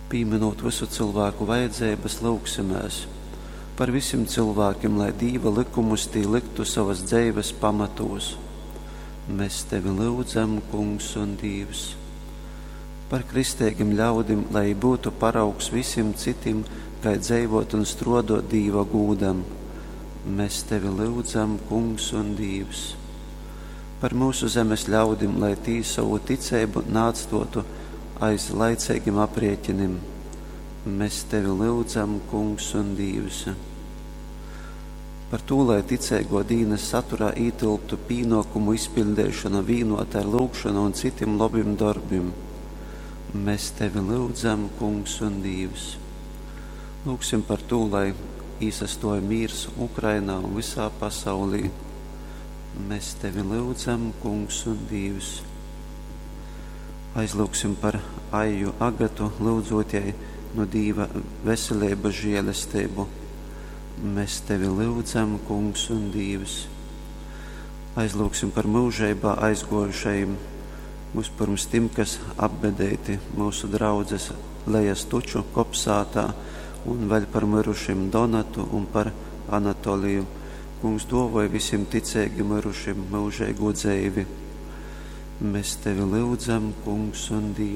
Pīminūt vysu cylvāku vajadzeibas, lyugsimēs par visim cylvākim, lai Dīva lykumus tī lyktu sovas dzeives pamatūs. Mēs tevi lyudzam, Kungs un Dīvs. Par kristeigim ļaudim, lai būtu paraugs visim citim, kai dzeivot un struodot Dīva gūdam. Mēs tevi lyudzam, Kungs un Dīvs. Par myusu zemes ļaudim, lai tī sovu ticeibu naatstotu aiz laiceigim aprieķinim. Mēs tevi lyudzam, Kungs un Dīvs. Par tū, lai ticeigō dīnas saturā ītylptu pīnōkumu izpiļdeišona vīnota ar lyugšonu un citim lobim dorbim. Mēs tevi lyudzam, Kungs un Dīvs. Lūgsim par tū, lai īsastuoj mīrs Ukrainā un visā pasaulī. Mēs tevi lyudzam, Kungs un Dīvs. Aizlūgsim par Aiju Agatu, lyudzot jai nu Dīva veseleibas žēlesteibu. Mēs tevi lyudzam, Kungs un Dīvs. Aizlūgsim par myužeibā aizguojušajim, vispirms tim, kas apbedeiti myusu draudzes Lejas Tuču kopsātā, un vēl par myrušim Donatu un par Anatoliju. Kungs duovoj visim ticeigi myrušim myužeigū dzeivi. Mēs tevi lyudzam, Kungs un Dīvs.